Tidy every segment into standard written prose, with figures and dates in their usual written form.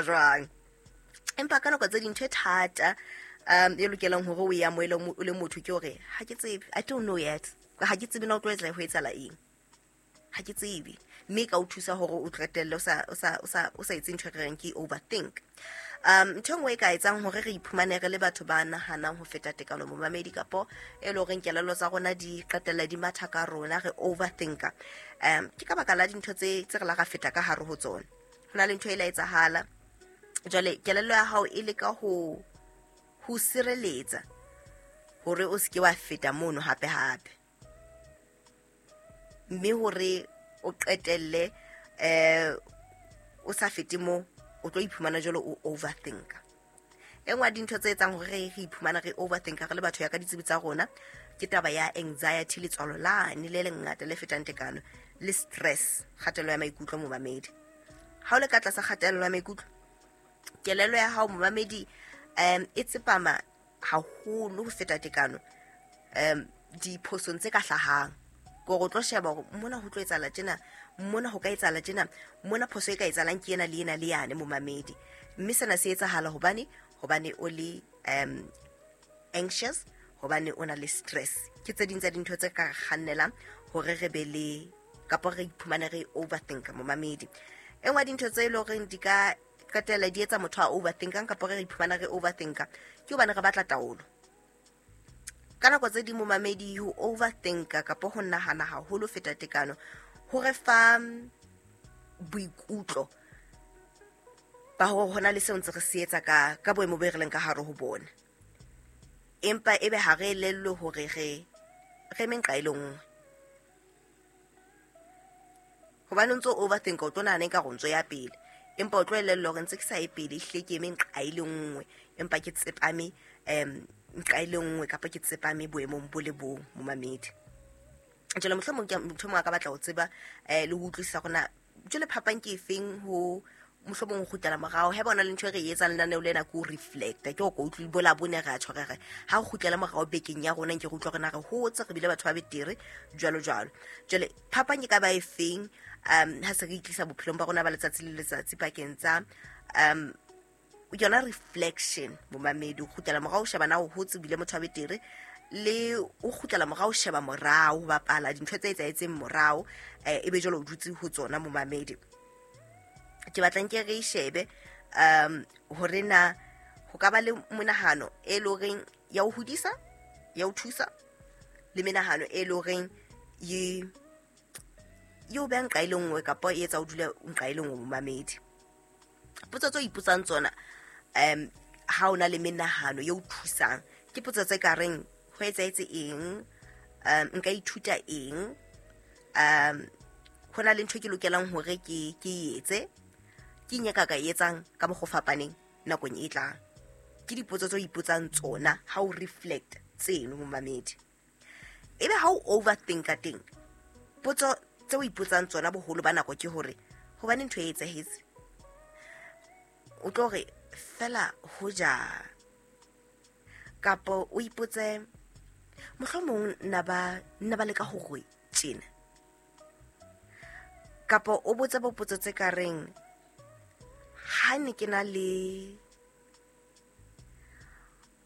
Jwang, empa ka nako tse ding ntho e thata e lokelang hore o e amohele o le motho ke hore ha ke tsebe, I don't know yet, ha ke tsebe na o tlo etsa ho etsahala eng, ha ke tsebe, mme e ka o thusa hore o qetelle o sa etse ntho e re reng ke overthink. Ntho e nngwe e ka etsang hore re iphumane re le batho ba nahanang ho feta tekano, momamedi, kapo e le horeng kelello tsa rona di qetella di matha ka rona, re overthinka, ke ka baka la dintho tse re la ra feta ka hare ho tsona. Ho na le ntho e la etsahala, jwale kelello ya hao e leka ho sireletsa hore o seke wa feta mono hape hape, mme hore o qetelle o sa fete mo, o tlo iphumana jwalo o overthinka. E nngwe ya dintho tse etsang hore re iphumana re overthinka re le batho ya ka ditsebi tsa rona ke taba ya anxiety, letswalo lane le lengata le fetang tekano, le stress, kgatello ya maikutlo. Momamedi, ha o le ka tlasa kgatello ya maikutlo, kelello ya hao, momamedi, e tsepama haholo ho feta tekano diphosong tse ka hlahang, kore o tlo sheba hore mona ho tlo etsahala tjena, mona ho ka etsahala tjena, mona phoso e ka etsahalang ke ena le ena le yane, momamedi. Mme sena se etsahala hobane o le anxious, hobane o na le stress. Ke tse ding tsa dintho tse ka kgannelang hore re be le kapo re iphumane re overthinka, momamedi. E nngwe ya dintho tse e leng horeng di ka qetella di etsa motho a overthinkang kapo re iphumana re overthinka ke hobane re batla taolo. Ka nako tse ding, momamedi, ho overthinka kapo ho nahana haholo feta tekano ho re fa boikutlo ba hore hona le seo ntse re se etsa ka boemo bo e re leng ka hare ho bona, empa ebe ha re elellwe hore re eme nqa e le nngwe, hobane o ntso overthinka, o tlo nahana ekare o ntso ya pele, empa o tlo elellwa hore ntse ke sa ye pele, ehlile ke eme nqa e le nngwe, empa ke tsepame nqa e le nngwe kapa ke tsepame boemong bo le bong, momamedi. Jwale mohlomong ke motho mongwe a ka batla ho tseba le ho utlwisisa hore na jwale phapang ke efeng ho mohlomong ho kgutlela morao. Ha bona le ntho e re e etsang lenaneo lena ke ho reflecta, ke hore utlwe bola bone re a tjho re re ha re kgutlele morao bekeng ya rona, nke re utlwa hore na re hotse, re bile batho ba betere, jwalo jwalo. Jwale phapang ke ka ba efeng ha se re itlisa bophelong ba rona ba letsatsi le letsatsi pakeng tsa yona reflection, momamedi, o kgutlela morao o sheba na o hotse, bile motho wa betere, le o kgutlela morao o sheba morao ho bapala dintho tse etsahetseng morao, e be jwale o dutse ho tsona, momamedi? Ke batlang ke re e shebe hore na ho ka ba le monahano e le horeng ya o hodisa, ya o thusa, le menahano e le horeng ye o beha nqa e le nngwe kapa e etsa o dule nqa e le nngwe, momamedi. Potso tse o ipotsang tsona ha o na le menahano e o thusang ke potso tse ka reng: ho etsahetse eng? Nka ithuta eng? Ho na le ntho e ke lokelang hore ke e etse? Ke eng e ka e etsang ka mokgwa o fapaneng nakong e tlang? Ke dipotso tse o ipotsang tsona ha o reflect tseno, momamedi. Ebe ha o overthinka teng, potso tse o ipotsang tsona boholo ba nako ke hore hobane ntho e etsahetse, o tlo re fela hoja, kapo o ipotse mohlomong nna ba leka hore tjena, kapo o botse bopotso tse ka reng ha ne ke na le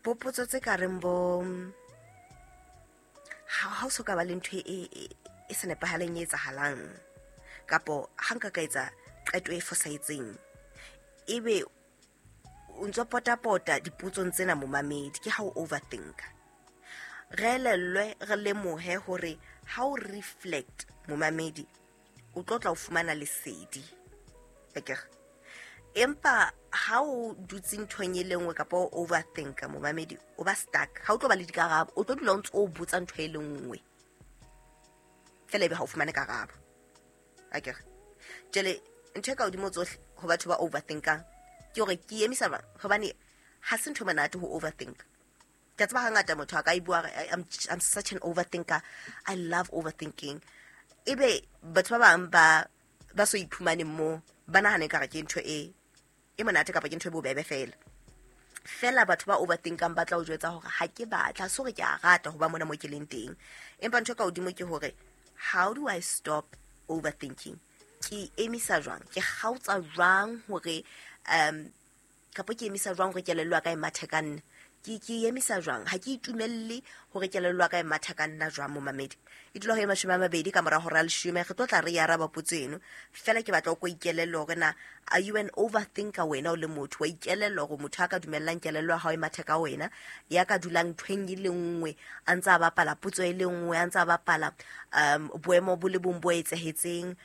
bopotso tse ka reng bo ha o so ka ba le ntho e sa nepahaleng e etsahalang, kapo ha nka ka etsa qeto e fosahetseng. Ebe o ntso potapota dipotsong tsena, momamedi, ke ha o overthinka. Re elellwe, re lemohe hore ha o reflect, momamedi, o tlo tla o fumana lesedi akere, empa ha o dutse nthong e le nngwe kapa o overthinka, momamedi, o ba stuck, ha o tlo ba le dikarabo, o tlo dula o ntse o botsa ntho e le nngwe fela, ebe ha o fumane karabo akere. Jwale ntho e ka hodimo tsohle ho batho ba overthinkang ke hore ke emisa jwang, hobane ha se ntho e monate ho overthink. Ke a tseba hangata motho a ka e bua re, I'm such an overthinker, I love overthinking. Ebe batho ba bang ba so iphumaneng mo ba nahane ekare ke ntho e monate kapa ke ntho e bobebe fela fela. Batho ba overthinkang ba tla o jwetsa hore ha ke batla se hore ke a rata ho ba mona mo ke leng teng, empa ntho e ka hodimo ke hore how do I stop overthinking? Ke emisa jwang, ke kgaotsa jwang hore Kapo ke emisa jwang hore kelello ya ka e mathe ka nna? Ke emisa jwang? Ha ke itumelle hore kelello ya ka e matha ka nna jwang, momamedi? E dula ho e 20 ka mora hora ya 10. Re tlo tla re e araba potso eno. Fela ke batla o ko ikelelle hore na are you an overthinker wena o le motho? Wa ikelella hore motho a ka dumellang kelello ya hao e mathe ka wena, ya ka dulang nthweng e le nngwe, a ntse a bapala potso e le nngwe, a ntse a bapala boemo bo le bong bo etsahetseng.